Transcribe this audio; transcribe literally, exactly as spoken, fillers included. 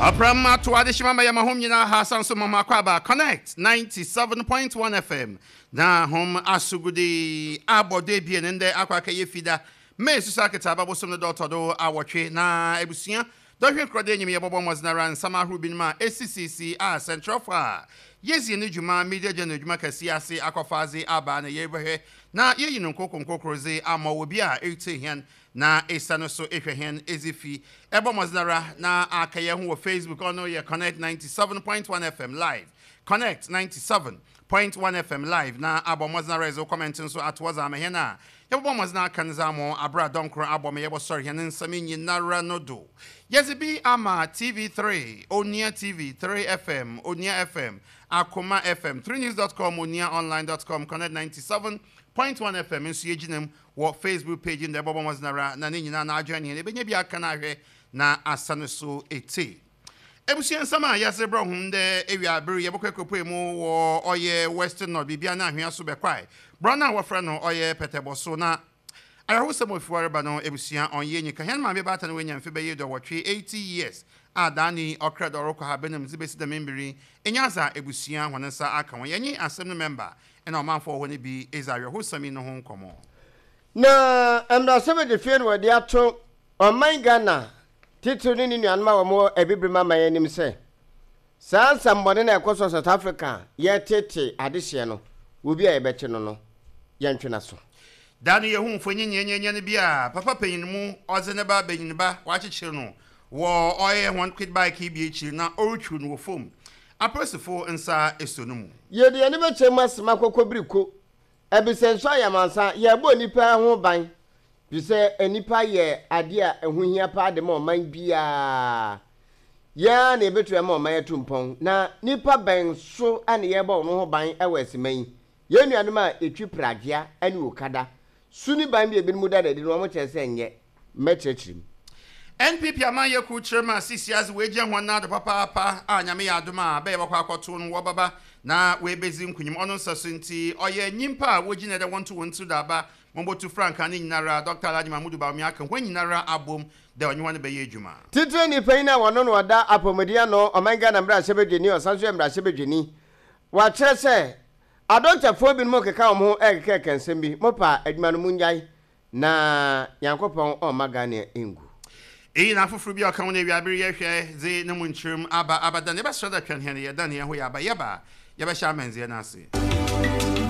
Ɔpram ato adehyema ma yɛma hom nyinaa ha san so mama akɔ aba Connect ninety-seven point one F M na hom asogode abɔdo ebien ndɛ akɔ akɛyɛ Fida May susu aketa ababosom no dɔtɔ do awɔtwe na abusua dɔhwɛ nkorɔde enyim yɛbɔbɔ mmɔdzenara nsɛm ahorow binom a esisisi a sɛnkyerɛwfo a yɛsie ne dwuma media gya no adwuma kɛseɛ ase akɔfa adze aba na yɛrebɛhwɛ na yɛyi no nkoko nkokoro dze ama wɔ bi a ɛretie hɛn na ɛsa no so ehwɛ hɛn edzi fi ɛbɔ mmɔdzenara na aka yɛn ho wɔ Facebook. Ɔno yɛ Connect ninety-seven point one F M live, Connect ninety-seven point one F M live, na abɔ mmɔdzenara ɛdze comment nso ato ɔdze ama hɛn a yɛbɛbɔ mmɔdzen aka no dze ama abere a dɔnkoro abɔ ma yɛbɔsɔre hɛn nsɛm nyinara no do. Yɛdze bi ama T V three, Onua T V, three F M, Onua F M, Akoma F M, three news dot com, onua online dot com, Connect ninety-seven point one F M nso yɛgyina mu wɔ Facebook page no ɛbɔbɔ mmɔdzen na ne nyinaa na adwene hɛn ɛbɛnya bi aka no ahwɛ na asa no so ɛte. Ebusua, nsɛm a yɛase brɛ hom dɛ ewia abere yɛbɛkɔ akɔpue mu wɔ ɔyɛ Western North biribia no ahwea so bɛkwae borɔ no a wɔfrɛ no ɔyɛ pɛtɛbɔ so na ayɛhosɛm ofiware ba no. Ebusua, ɔnyɛ nyika hɛn maame baata no wanya mfe bɛyɛ dɔwɔtwe, eighty years, a daani ɔkra dɛ ɔrekɔ ha bɛnam dze bɛsi dɛm mbiri ɛnya adza ebusua hɔn nsa aka wɔn. Yɛnye asɛm no mɛmba ɛna ɔmanfoɔ wɔ hɔ no bi ɛdze awerɛhosɛm yi no ho nkɔmmɔ. Na mmarahyɛbadwafie no wɔde ato ɔman Ghana titiri ne ne nuanom a wɔwɔ Abibirem aman anim sɛ saa nsɛmbɔne na ɛkɔ so South Africa yɛtete adehyeɛ no, obi a yɛbɛkye no no yɛntwe n'aso. Da no yɛhu mfonyin nyɛnyɛnyɛ no bi a papa panyin mu ɔdze ne ba banyin ba wakyekyere no wɔ ɔyɛ wɔn quad bike yi bi akyiri na ɔretwiw no wɔ fam. Apolisifo nsa eso no mu. Yɛde yɛne bɛkyɛ mu asɛm akɔkɔ biriko ɛbisɛ nso ayamansa yɛbɔ nipa ho ban fi sɛ nipa yɛ adeɛ a ɛho hia paa de ma ɔman biara. Yɛa na yɛbɛtumi ama ɔman atu mpɔn na nipa bɛn so ɛna yɛbɔ ɔno ho ban ɛwɔ asima yi. Yɛn nuanom a ɛtwi pragea ne okada su ne ban bi a ebinom da n'adi no, wɔn kyerɛ sɛ nyɛ mmɛkyerɛkyerɛ mu. N P P amanyɛ kuw kyerɛ mu a sisi ase wɔagya wɔn nado papaapa a Nyame yɛ adom a bɛyɛ bɛkɔ akɔto no wɔbaba na wɔebɛzi nkunyim. Ɔno nsa so nti ɔyɛ nyimpa a wogyina dɛ wɔnto wɔn tiri do aba wɔmbɔtu frankaa ne nyinara. Doctor Alhaji Mahmudu Bawumia aka wɔn nyinara abom dɛ ɔnye wɔn bɛyɛ adwuma. Titire nipa yi na wɔno no ɔda apɔmuden ano ɔman Ghana mmarahyɛbadwani, ɔsan so yɛ mmarahyɛbadwani, wɔakyerɛ sɛ adɔktafoɔ binom keka wɔn ho ɛkekɛkɛ nsɛm bi mopa adwuma no mu ngyae na Nyankopɔn ɔmma Ghana ngu. Eyi na afoforɔ bi a ɔka ho no awiabere yɛhwɛ dze ne mu nkyerɛm aba abadan yɛbɛsrɛ dɛ twɛn hɛn yɛdan yɛn ho yɛ aba yɛba yɛbɛhyɛ amanzeɛ no ase.